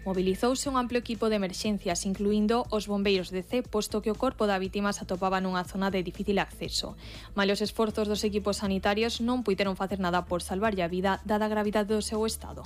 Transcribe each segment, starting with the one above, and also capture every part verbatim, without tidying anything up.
Mobilizouse un amplo equipo de emerxencias, incluindo os bombeiros de C, posto que o corpo da vítima se atopaba nunha zona de difícil acceso. Malos esforzos dos equipos sanitarios non puideron facer nada por salvarlle a vida, dada a gravidade do seu estado.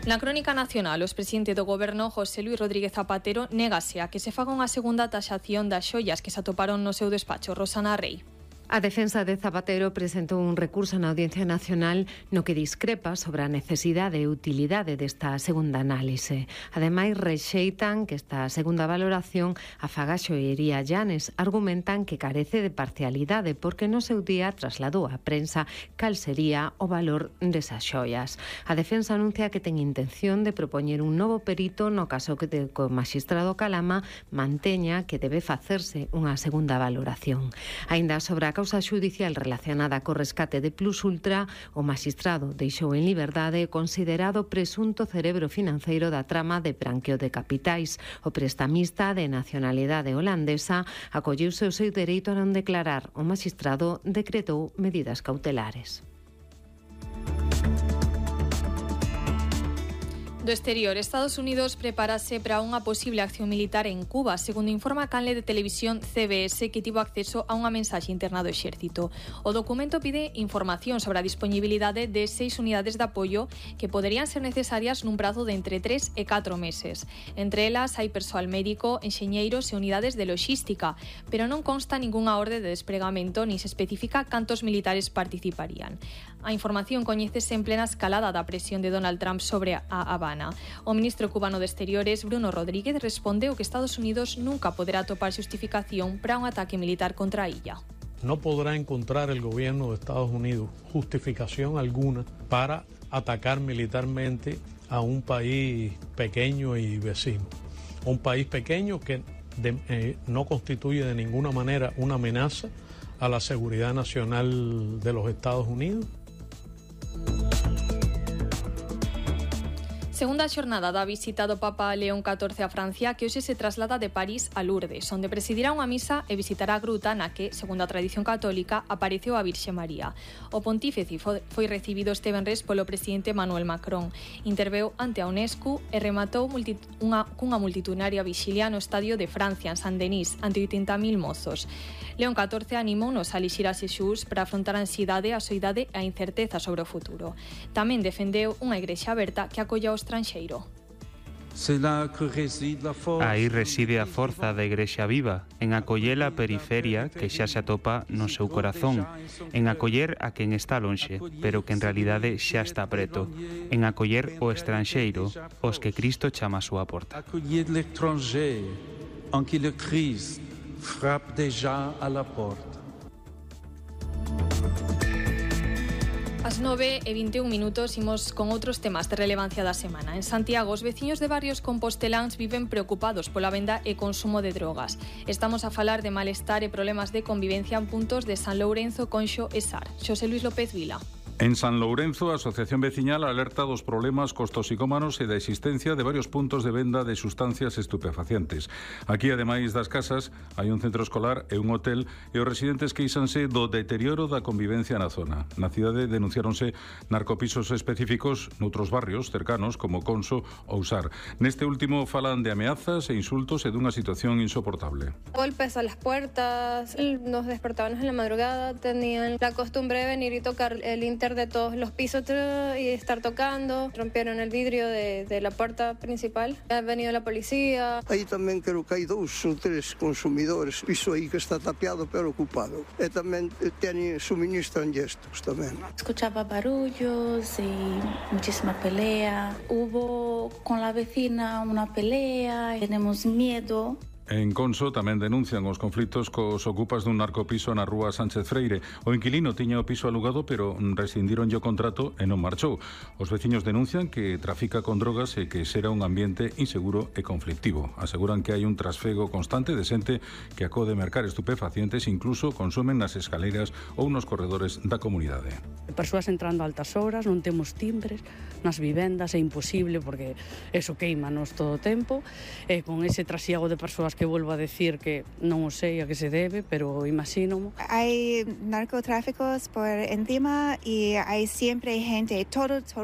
Na crónica nacional, o expresidente do Goberno, José Luis Rodríguez Zapatero, négase a que se faga unha segunda taxación das xoias que se atoparon no seu despacho. Rosana Rei. A defensa de Zapatero presentou un recurso na Audiencia Nacional no que discrepa sobre a necesidade e utilidade desta segunda análise. Ademais, rexeitan que esta segunda valoración a faga a xoiería Llanes. Argumentan que carece de parcialidade porque no seu día trasladou á prensa cal sería o valor desas xoias. A defensa anuncia que ten intención de propoñer un novo perito no caso que o magistrado Calama manteña que debe facerse unha segunda valoración. Aínda sobre a causa xudicial relacionada co rescate de Plus Ultra, o magistrado deixou en liberdade considerado presunto cerebro financeiro da trama de branqueo de capitais. O prestamista de nacionalidade holandesa acolleuse o seu dereito a non declarar. O magistrado decretou medidas cautelares. Do exterior, Estados Unidos prepárase para unha posible acción militar en Cuba, segundo informa a canle de televisión C B S, que tivo acceso a unha mensaxe interna do exército. O documento pide información sobre a disponibilidade de seis unidades de apoio que poderían ser necesarias nun prazo de entre tres e catro meses. Entre elas hai persoal médico, enxeñeiros e unidades de logística, pero non consta ningunha orde de despregamento ni se especifica cantos militares participarían. A información coñécese en plena escalada da presión de Donald Trump sobre a Habana. O ministro cubano de Exteriores, Bruno Rodríguez, respondeu que Estados Unidos nunca poderá topar justificación para un ataque militar contra a illa. No podrá encontrar el gobierno de Estados Unidos justificación alguna para atacar militarmente a un país pequeño y vecino. Un país pequeño que de, eh, no constituye de ninguna manera una amenaza a la seguridad nacional de los Estados Unidos. Segunda xornada da visita do Papa León catorce a Francia, que hoxe se traslada de París a Lourdes, onde presidirá unha misa e visitará a gruta na que, segundo a tradición católica, apareceu a Virxe María. O pontífice foi recibido este venres polo presidente Emmanuel Macron. Interveu ante a UNESCO e rematou multi, unha, cunha multitudinaria vixilia no Estadio de Francia, en Saint-Denis, ante oitenta mil mozos. León catorce animounos a elixir a Xesús para afrontar a ansiedade, a soidade e a incerteza sobre o futuro. Tamén defendeu unha igrexa aberta que acolla o estranxeiro. Aí reside a forza da Igrexa Viva, en acoller a periferia que xa se atopa no seu corazón, en acoller a quen está lonxe, pero que en realidade xa está preto, en acoller o estranxeiro, os que Cristo chama a súa porta. Accueillir l'étranger, en qui le Christ frappe déjà à la porte. As nove e vinte e un minutos imos con outros temas de relevancia da semana. En Santiago, os veciños de barrios composteláns viven preocupados pola venda e consumo de drogas. Estamos a falar de malestar e problemas de convivencia en puntos de San Lourenzo, Conxo e Sar. Xosé Luis López Vila. En San Lourenzo, a Asociación Veciñal alerta dos problemas cos toxicómanos e da existencia de varios puntos de venda de sustancias estupefacientes. Aquí, ademais das casas, hai un centro escolar e un hotel e os residentes queixanse do deterioro da convivencia na zona. Na cidade denunciáronse narcopisos específicos noutros barrios cercanos como Conso ou Sar. Neste último falan de ameazas e insultos e dunha situación insoportable. Golpes a las puertas, nos despertábamos en la madrugada, tenían la costumbre de venir y tocar el inter de todos los pisos y estar tocando. Rompieron el vidrio de, de la puerta principal. Ha venido la policía. Aí tamén creo que hai dous ou tres consumidores. Piso aí que está tapiado pero ocupado. E tamén teñen suministran gestos tamén. Escuchaba barullos y muchísima pelea. Hubo con la vecina una pelea. Tenemos miedo. En Conso tamén denuncian os conflitos cos ocupas dun narcopiso na rúa Sánchez Freire. O inquilino tiña o piso alugado, pero rescindironlle o contrato e non marchou. Os veciños denuncian que trafica con drogas e que será un ambiente inseguro e conflictivo. Aseguran que hai un trasfego constante de xente que acode mercar estupefacientes, incluso consumen nas escaleiras ou nos corredores da comunidade. Persoas entrando a altas horas, non temos timbres nas vivendas, é imposible porque eso queimanos todo o tempo, e con ese trasiego de persoas que volvo a decir que non o sei a que se debe, pero imagino. Hay narcotráficos por encima y hay siempre gente, todo, todo